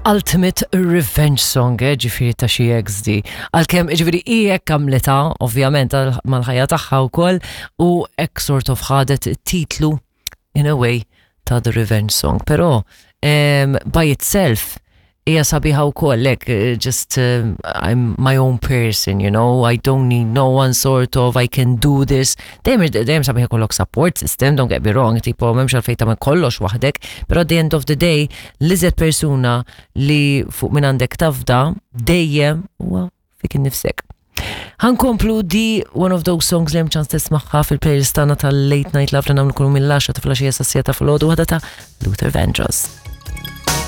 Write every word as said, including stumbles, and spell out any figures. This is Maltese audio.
Ultimate Revenge Song, eh, ġifieri ta' xi ex di. Għalkemm, ġifieri, hi hekk għamlitha, ovvjament, għal- mal-ħajja tagħha wkoll, u hekk sort of ħadet titlu, in a way, ta' The Revenge Song. Però, um, by itself, hija sabiħa wkoll, like, eh, just um, I'm my own person, you know, I don't need no one sort of, I can do this. Dejjem dejjem sabiħa jkollok support system, don't get me wrong, tipo m'hemmx għalfejn tagħmel kollox waħdek, però at the end of the day, l-iżjed persuna li fuq minn għandek tafda dejjem huwa fik innifsek. Ħa nkomplu di one of those songs li hemm ċans tismagħha fil-playlist tagħna tal-Late Night Love li nagħmlu kull mill-għaxra ta' filgħaxija sa sitta ta' filgħodu waħda ta' Luther Vandross.